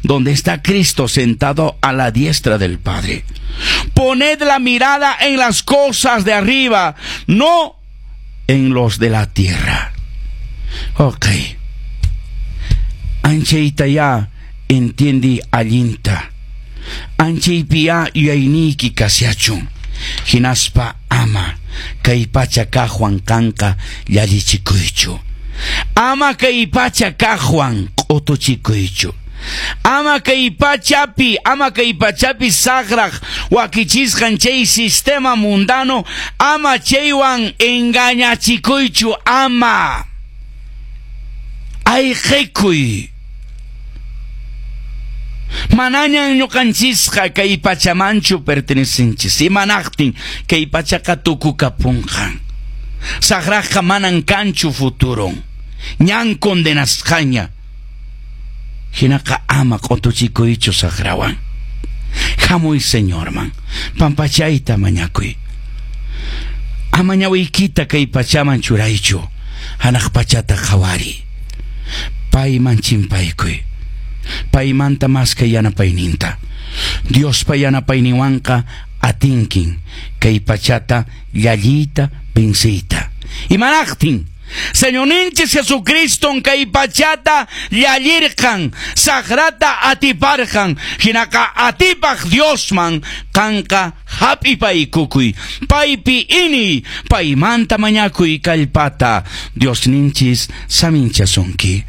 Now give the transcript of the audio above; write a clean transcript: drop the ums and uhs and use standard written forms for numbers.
Donde está Cristo sentado a la diestra del Padre. Poned la mirada en las cosas de arriba, no en los de la tierra. Ok. Anchaytayá entiendiy allinta. Anchaypiyá yuyayniyki kashachun. Hinaspa ama kay pacha kaqwan qanqa llallichikuychu. Ama kay pacha kaqwan q'utuchikuychu. Ama kay pachapi, ama kay pachapi saqraq wakichisqan chay sistema mundano, ama chaywan engañachikuychu, ama. Ayqikuy. Manañan ñuqanchisqa kay pachamanchu pertenecenchis. Imanaqtin kay pachaqa tukukapunqan. Saqraqqa manan kanchu futuron. Ñan condenasqaña. Hinaqa ama q'utuchikuychu saqrawan. Hamuy Señorman, pampachayta mañakuy. Ama ñawiykita kay pachaman churaychu, hanaq pachata qhawariy. Payman chimpaykuy. Paymanta maskay yanapayninta. Diospa yanapayninwanqa atinkin kay pachata llalliyta venciyta. Imanaqtin? Señorninchis Jesucriston kay pachata llallirqan, saqrata atiparqan, hinaqa atipaq Diosman qanqa hap'ipaykukuy, paypi iniy, paymanta mañakuy kallpata, Diosninchis saminchasunki.